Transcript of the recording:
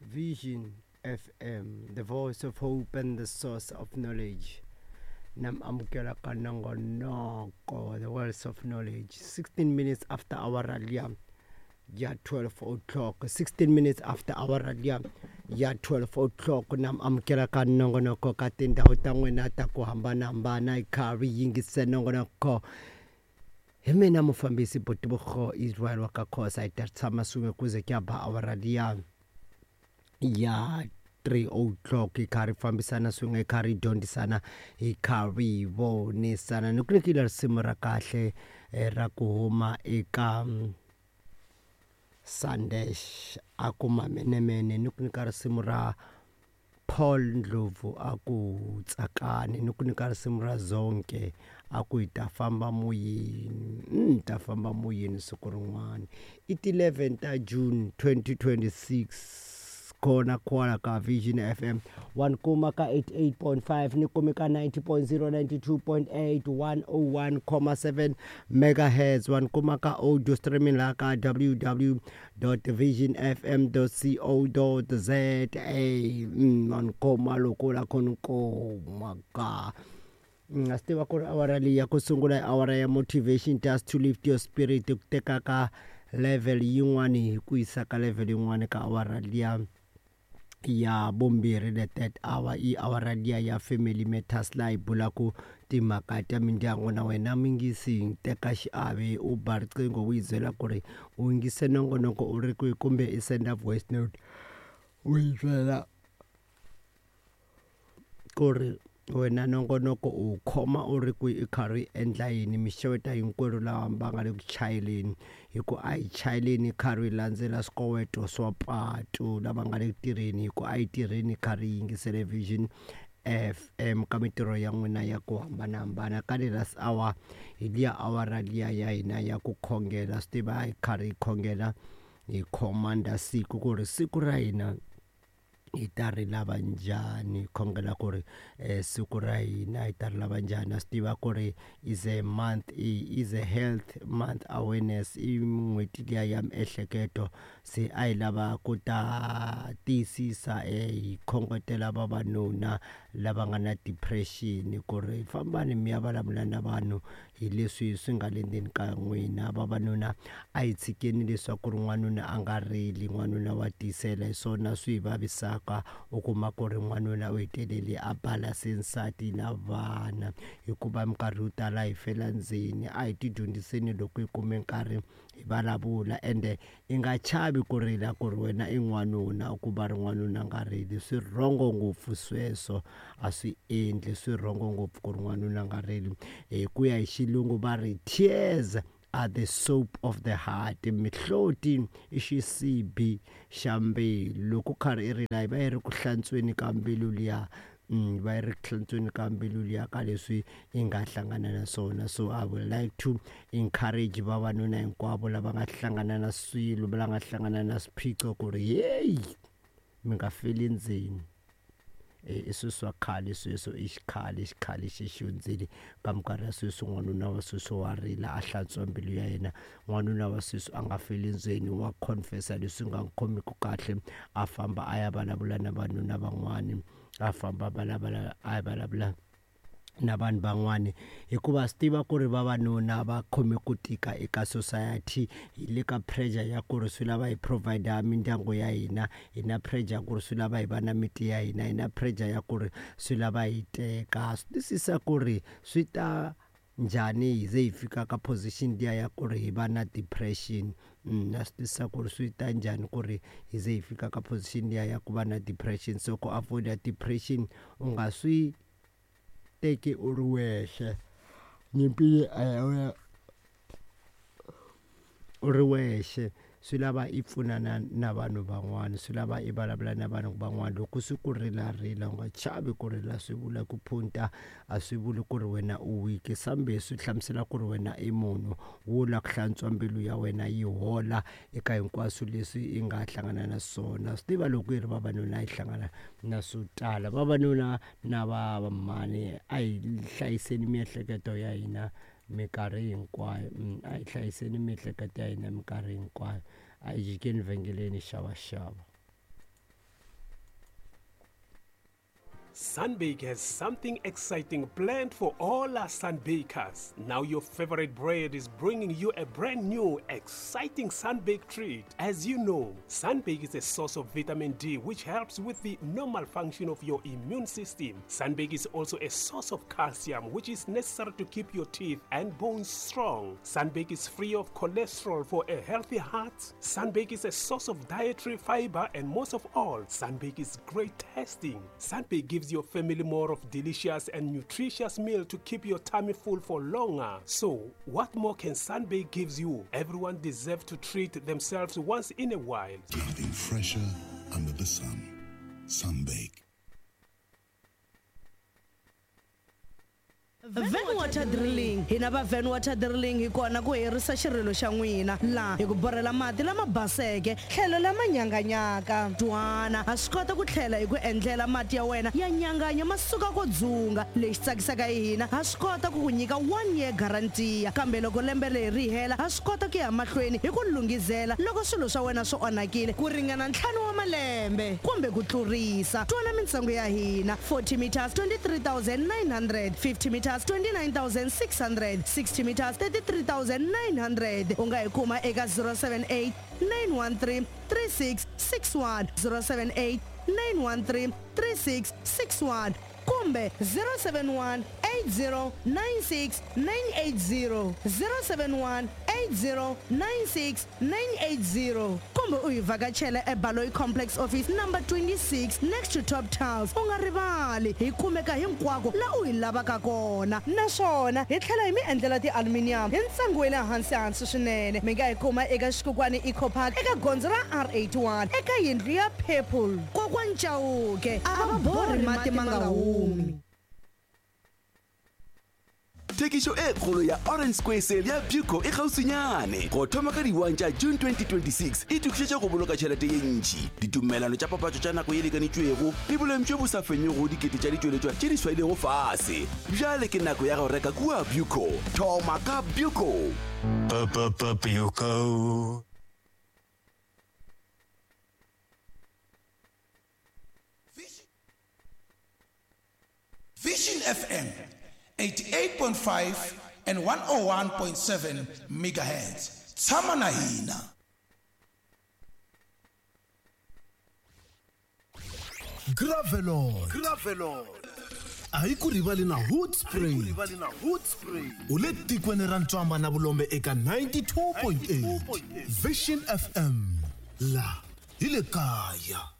Vision FM, the voice of hope and the source of knowledge. Nam amukela ka nongonoko, the voice of knowledge. 16 minutes after hour liya ya 12 o'clock. 16 minutes after hour liya ya 12 o'clock. Nam amukela ka nongonoko ka tindhawu ta n'wina ta ku hambanahambana hi karhi yingise nongonoko. Hi mina mufambisi Botibogo Israel wa ka Khosa hi ta tshama swin'we ku ze ku ya ba awara liya ya 3 o'clock hi karhi fambisana swin'we hi karhi hi dyondzisana hi karhi hi vonisana ni ku nyikile risimu ra kahle ra ku huma eka Sandesh a ku mamenemene ni ku nyika risimu ra Paul Ndlovu a ku tsakani ni ku nyika risimu ra Zonke a ku hi ta famba moyeni hi ta famba moyeni siku rin'wana i ti 11 ta June 2026 kona kwala ka Vision FM wa ni kuma ka 88.5 ni kumi ka 90.0 92.8 101.7 megahertz wa ni kuma ka audio streaming laha ka www.visionfm.co.za wa ni kuma loko u lava ku ni kuma ka nga swi tiva ku ri awara leyi ya ku sungula i awara ya motivation just to lift your spirit ku teka ka level yin'wani hi ku yisa ka level yin'wani ka awara liya ya vumbirhi the third hour i awara liya ya family matters laha hi bulaku timhaka ta mindyangu na wena muyingisi teka xiave u ba riqingho u yi byela ku ri u yingise nongonoko u ri kwihi kumbe i senda voice note u yi byela ku ri wena nongonoko u khoma u ri kwihi i karhi i endla yini mi xeweta hinkwerhu lava va nga le ku chayeleni hi ku a hi chayeleni hi karhi hi landzela swikoweto swa patu lava nga le ku tirheni hi ku a hi tirheni hi karhi hi yingisele Vision F_M ka mintirho ya n'wina ya ku hambanahambana ka le last hour hi liya awara liya ya hina ya ku khongela swi tiva hi karhi hi khongela hi command-a siku ku ri siku ra hina hi ta ri lava njhani hi khongela ku ri siku ra hina hi ta ri lava njhani na swi tiva ku ri is a month is a health month awareness i n'hweti liya ya miehleketo se a hi lava ku ta tiyisisa hi khongotela vavanuna lava nga na depression ku ri fambani mi ya vulavula na vanhu hi leswi swi nga le ndzeni ka n'wina vavanuna a hi tshikeni leswaku ri n'wanuna a nga rili n'wanuna wa tiyisela hi swona swi hi vavisaka u kuma ku ri n'wanuna u hetelele a balase nsati na vana hikuva minkarhi yo tala hi fela ndzeni a hi ti dyondziseni loko hi kume nkarhi hi vulavula ende i nga chavi ku rila ku ri wena i n'wanuna u kuma ri n'wanuna a nga rili swi rhongo ngopfu sweswo a swi endli swi rhongo ngopfu ku ri n'wanuna a nga rili hi ku ya hi xilungu va ri tears are the soap of the heart mihloti i xisibi xa mbilu loko u karhi i rila yi va yi ri ku hlantsweni ka mbilu liya va yi ri ku hlantsweni ka mbilu liya ka leswi i nga hlangana na swona so I would like to encourage vavanuna hinkwavo lava nga hlangana na swilo lava nga hlangana na swiphiqo ku ri heyi mi nga feli ndzeni i swilo swa khale sweswo i xikhale xikhale xi xi hundzile ka minkarhi ya sweswi n'wanuna wa sweswi wa rila a hlantswa mbilu ya yena n'wanuna wa sweswi a nga feli ndzeni wa confess-a leswi nga n'wi khomiki kahle a famba a ya vulavula na vanuna van'wani a famba a vulavula a vulavula na vanhu van'wani hikuva swi tiva ku ri vavanuna va khome ku tika eka society hi le ka pressure ya ku ri swi lava hi provide mindyangu ya hina hi na pressure ya ku ri swi lava hi va na miti ya hina hi na pressure ya ku ri swi lava hi teka swi twisisa ku ri swi ta njhani hi ze hi fika ka position liya ya ku ri hi va na depression na swi twisisa ku ri swi ta njhani ku ri hi ze hi fika ka position liya ya ku va na depression so ku avoid depression u nga swi teki u ri wexe nyimpi a ya wena u ri wexe swi lava i pfunana na vanhu van'wana swi lava i vulavula na vanhu van'wana loko swi ku rila rila u nga chavi ku rila swi vula ku phunta a swi vuli ku ri wena u weak sambe swi hlamusela ku ri wena i munhu wo lava ku hlantswa mbilu ya wena yi hola eka hinkwaswo leswi i nga hlangana na swona swi tiva loko hi ri vavanuna hi hlangana na swo tala vavanuna na vamhani a hi hlayiseni miehleketo ya hina. minkarhi hinkwayo. A hi hlayiseni miehleketo ya hina minkarhi hinkwayo, a hi jikeni vhengeleni xavaxava. Sunbake has something exciting planned for all our sunbakers. Now your favorite bread is bringing you a brand new, exciting Sunbake treat. As you know, Sunbake is a source of vitamin D which helps with the normal function of your immune system. Sunbake is also a source of calcium which is necessary to keep your teeth and bones strong. Sunbake is free of cholesterol for a healthy heart. Sunbake is a source of dietary fiber, and most of all, Sunbake is great tasting. Sunbake gives your family more of delicious and nutritious meal to keep your tummy full for longer. So, what more can Sunbake gives you? Everyone deserves to treat themselves once in a while. Nothing fresher under the sun. Sunbake. Van Water Drilling. Hina va Van Water Drilling hi kona ku herisa xirilo xa n'wina laha hi ku borhela mati lama baseke tlhelo lama nyanganyaka. Twana, ha swi kota ku tlhela hi ku endlela mati ya wena ya nyanganya ma suka ko dzunga. Lexi tsakisaka hi hina, ha swi kota ku ku nyika 1 year guarantee, kambe loko lembe leri ri hela ha swi kota ku ya mahlweni hi ku lunghizela loko swilo swa wena swi onhakile ku ringana 5 wa malembe kumbe ku tlurisa. Twana mintsengo ya hina: 40 meters 23,900, 50 meters 29,600, 60 meters 33,900. U nga hi kuma eka 078 913 3661, 078 913 3661 kumbe 071 8096 980, 071 8096 980, kumbe u hi vhakachela eBaloyi Complex Office number 26 next to Top Tiles. U nga rivali, hi kumeka hinkwako la u hi lavaka kona, naswona hi tlhela hi mi endlela ti-aluminium hi ntsengo wa le hansi hansi swinene. Mi nga hi kuma eka Xikokwani Eco Park eka gondzo ra R81 eka yindlu ya Purple. Kokwani Chauke a va borhi mati ma nga humi. Thekišo e kgolo ya Orange Square Sale ya Buco e kgauswinyane. Go thoma ka di-1 tša June 2026, e tokišetše go boloka tšhelete ye ntši, ditumelano tša papatšo tša nako ye lekanetšwego le boleng bjo bo sa fenyego dikete tša ditšweletšwa tše di swailego fase. Bjale ke nako ya go reka kua Buco. Thoma ka Buco. Buco. Vision FM 88.5 and 101.7 megahertz. Tshama na hina. Gravelon. A hi ku rivali na Hood Spring. U le tikweni ra Ntswamba na Vulombe eka 92.8 Vision FM. La hi le kaya.